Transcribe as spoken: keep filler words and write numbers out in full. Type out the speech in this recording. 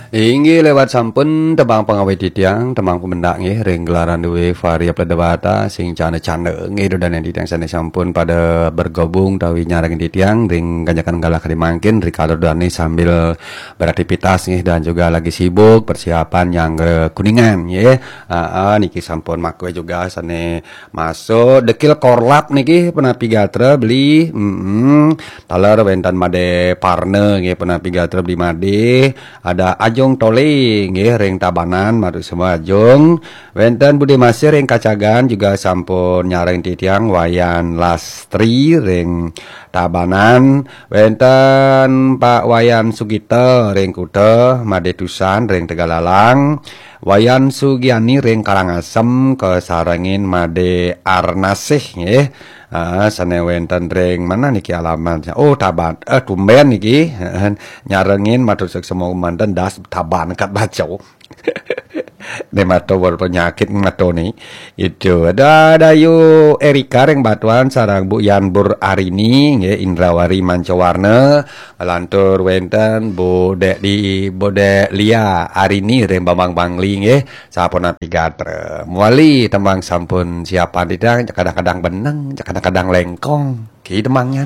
Inggih lewat sampun tembang pangawit titiang, tembang pemendak nggih, ring gelaran duwe Varia Pledewata, sing cana-cana nggih, dodanen titiang sane sampun pada bergabung tawi nyarengin titiang, ring ganjakan galah kadi mangkin, rikala dane sambil beraktivitas nggih, dan juga lagi sibuk persiapan nyanggra Kuningan nggih. Aa, niki sampun makwe juga sane masuk, dekil korlap niki penapi gatra beli, mm taler wenten Made Parna nggih, penapi gatra beli Made, ada Ajung Tole nggih ring Tabanan, matur semua Ajung. Wenten Bude Masih ring Kacagan juga sampun nyareng titiang, Wayan Lastri ring Tabanan, wenten Pak Wayan Sugita ring Kuta, Made Tusan ring Tegalalang, Wayan Sugiani ring Karangasem kasarengin Made Arnasih nggih. Ah, sane wenten ring mana niki alamat? Oh, Taban. Eh, tumben niki. Nyarengin, matur suksma manten, das Taban kat baca. Ne mato berpenyakit mato ni. Itu ada Dayu Erika ring Batuan sareng Bu Yan Bur Arini nggih, Indrawari Mancawarna, lantur wenten Bu Dek di Bu Dek Lia Arini ring Bambang Bangli nggih, sapunapi gatra. Muali tembang sampun siapan titiang, kadang-kadang beneng, kadang-kadang lengkong. Ki tembangnya.